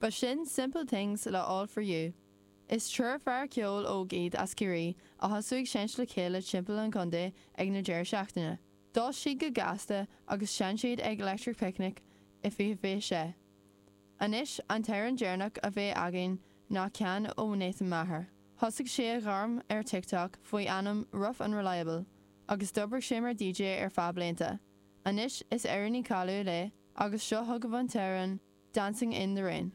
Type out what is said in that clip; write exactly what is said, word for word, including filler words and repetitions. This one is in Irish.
B'shin Simple Things le All For You. Is triúr fear ceoil óg iad as Ciarraí a thosaigh ag seinnt le chéile timpeall an chontae ag na deireadh seachtaine. D'fhás siad go gasta agus sheinn siad ag Electric Picnic i fiche fiche sé. Anois an t-amhrán deireanach a bheidh againn ná ceann ó Nathan Maher. Thosaigh sé a ghairm ar TikTok faoi ainm Rough and Reliable, agus d'oibrigh sé mar DJ ar feadh blianta. Anois is amhránaí cáiliúil é agus seo chugaibh an t-amhrán Dancing in the Rain.